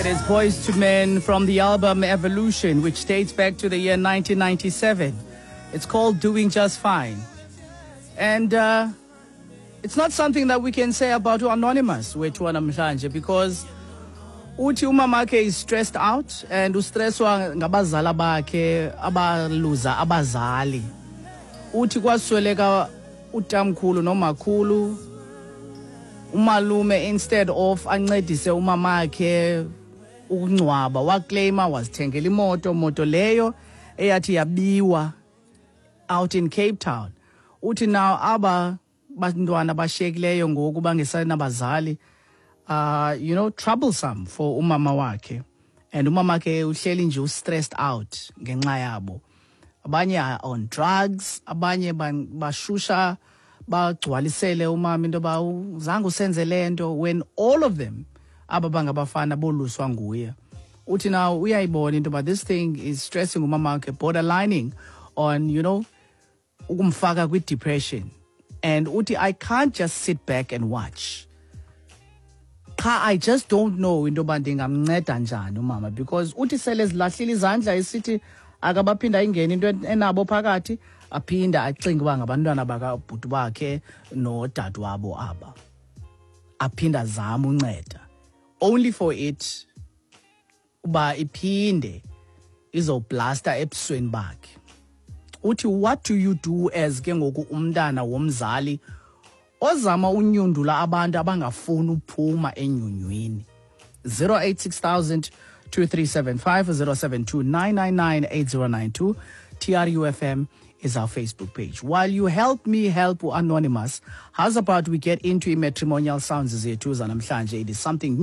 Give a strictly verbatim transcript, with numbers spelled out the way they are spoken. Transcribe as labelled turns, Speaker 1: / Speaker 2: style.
Speaker 1: It is Boyz II Men from the album Evolution, which dates back to the year nineteen ninety-seven. It's called Doing Just Fine. And uh, it's not something that we can say about Anonymous wethu namhlanje, because uthi umamakhe is stressed out and ustresswa ngabazala bakhe abaluza abazali. Uthi kwasweleka utamkhulu nomakhulu, umalume instead of ancedise umamakhe ukungcwaba waclaima wazithengela imoto, moto leyo eyathi yabiwa out in Cape Town. Uthi now aba bantwana bashiyekileyo ngoku bangesanabazali, uh, you know, troublesome for umama wakhe. And umama wakhe uhleli nje u-stressed out ngenxa yabo. Abanye are on drugs, abanye bashusha bagcwalisele umama into ba zange usenze lento, when all of them aba bangabafana boluswa nguye. Uthi now uyayibona into ba this thing is stressing umama wakhe, borderlining on, you know, ukumfaka kwi-depression. And uthi I can't just sit back and watch. Cha, I just don't know into yoba ndingamnceda njani umama, because uthi sele zilahlile izandla esithi akabaphinda ingene into enabo phakathi, aphinda acinge uba ngabantwana bakabhuti bakhe nodadewabo aba. Aphinda azame unceda, only for it uba iphinde izoblasta ebusweni bakhe. Uthi what do you do as ke ngoku umntana womzali ozama unyundula abantu abangafuni uphuma enyunywini? zero eight six thousand two three seven five, zero seven two nine nine nine eight zero nine two. T R U F M is our Facebook page. While you help me help Anonymous, how's about we get into matrimonial sounds zethu zanamhlanje? It is something new.